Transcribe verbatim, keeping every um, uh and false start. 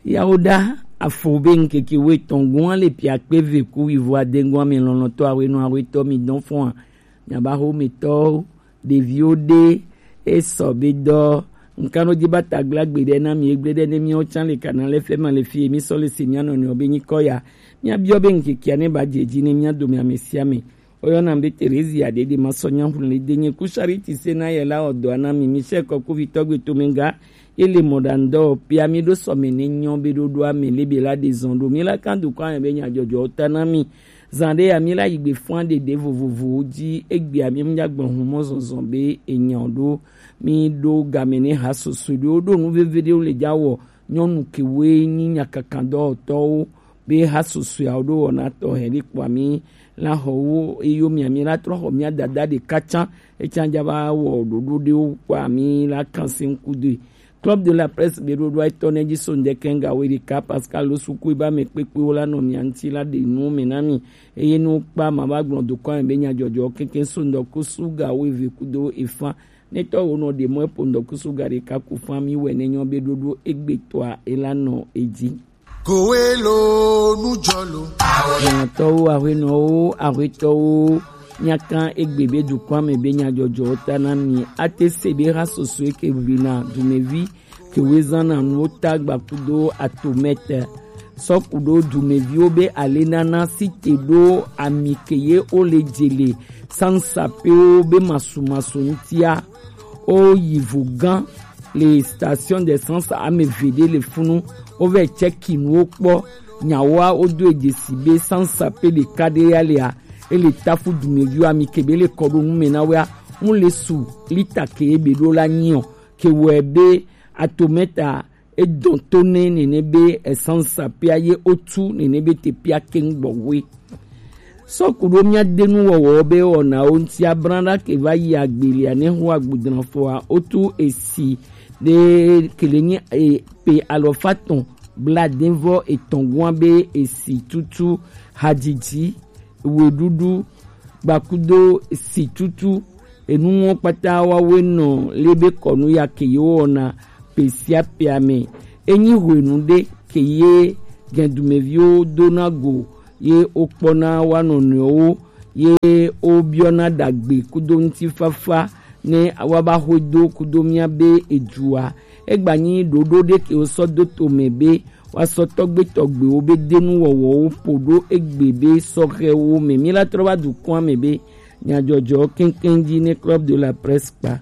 Yawoɖa afo be ŋkeke wuietɔ̃ gɔ̃a le piakpe ve ku wivo ade gɔ̃a me lɔlɔ̃tɔ awenɔ awetɔ mi dɔn fɔa. Miaba xo metɔwo, ɖeviwo ɖe esɔ be dɔ nkanɔ dzi ba tagla gbeɖe na mi egble ɖe ne miawo tsã le kana le fema le fie mi sɔ le se mia nɔnɔewo be nyikɔ ya. Miabiɔ be ŋkekea ne ba dze dzi ne mia dome ame sia ame. Woyɔna be Terezia ɖeɖe masɔ nyahun le denye ku Charity se na ye la wɔ dɔa na mi. Michel Kɔkuvitɔ gbe tomega ye le mɔɖaŋudɔ pia mi ɖo sɔme ne nyɔ be ɖoɖoa me lebe la ɖe zɔn ɖo mi la kan dukɔ ame be nyadzɔdzɔwo ta na mi. Zan ɖe ya mi la yi gbe fɔa ɖeɖe vovovowo dzi egbea mi nya gblɔ hun mɔ zɔzɔ be enyɔ ɖo mi ɖo game ne ha soso ɖewo ɖo nu veve ɖewo le dza wɔ nyɔnu kewoe nyi nyakakadɔwɔtɔwo be ha susɔeawo ɖo wɔna tɔxɛ ɖe kpɔa mi la xɔ wo eyo mia mi la trɔ xɔ mia dada ɖeka tsã etsã dza va wɔ ɖoɖo ɖewo kpɔa mi la kan se ŋku doe. Club de la Presse be ɖoɖoa etɔ ne dzi so ŋdɛkɛ ŋga wo ɖeka Pascal lo suku eba me kpekpewo la nɔ mia ŋti la ɖe nuwo me na mi. Eye nu kpa ma va gblɔ dokɔ me be nyadzɔdzɔ keke so ŋdɔku suga wo eve kudo efa ne tɔ wo nɔ ɖe mɔ epo ŋdɔku suga ɖeka ku fa mi wɛ ne nyɔ be ɖoɖo egbetɔa ela nɔ edzi. Kowelo nujɔlo. Nyɔtɔwo, ahuenɔwo, ahuetɔwo, miakan egbe be dukɔa me be nyadzɔdzɔwo ta na mi. Ate se be ha soso eke vina dumevi kewe zana nuwo ta gbakudo atomɛtɛ. Sɔkudo dumeviwo be ale nana si te ɖo ami ke ye wo le dze le sansapewo be masumasu ŋtia. Wo yi vo gã le station d'essence ame eve ɖe le funu. Wovɛ tsɛki nuwo kpɔ. Nyawoa wodo edzesi be sansa pe ɖeka ɖe ya lea ele tafu dumeviwo ami ke be le kɔ ɖo nu me na wea mu le su lita ke ebe ɖo la nyi o ke wɔe be atomɛta edɔn to ne nene be esansa pea ye otu nene be te pea ke ŋgbɔ we. Sɔku ɖo mía de nu wɔwɔ be wɔnawo ŋuti abran ɖa ke va yi agbelia ne ho agbudran fɔa otu esi ɖe kele nyi e pe alɔfa tɔn bladenvɔ etɔn gua be esi tutu hadzidzi weɖuɖu gbakudo si tutu enuwo kpata wawe nɔ lebe kɔnu ya ke yewo wɔna pe sia pea me. Enyi hwenu ɖe ke ye gɛndumeviwo dona go ye wokpɔna wa nɔnɔewo ye wobiɔna ɖagbe kudo ŋutifafa ne woava xɔe do kudo mía be edzua. Egba nyi ɖoɖo ɖe ke wosɔ do to me be woasɔ tɔgbe tɔgbewo be denu wɔwɔwo ƒo ɖo egbe be sɔhɛwo me. Mi la trɔ va dukɔa me be nyadzɔdzɔ keŋkeŋ dzi ne Club de la Presse kpa.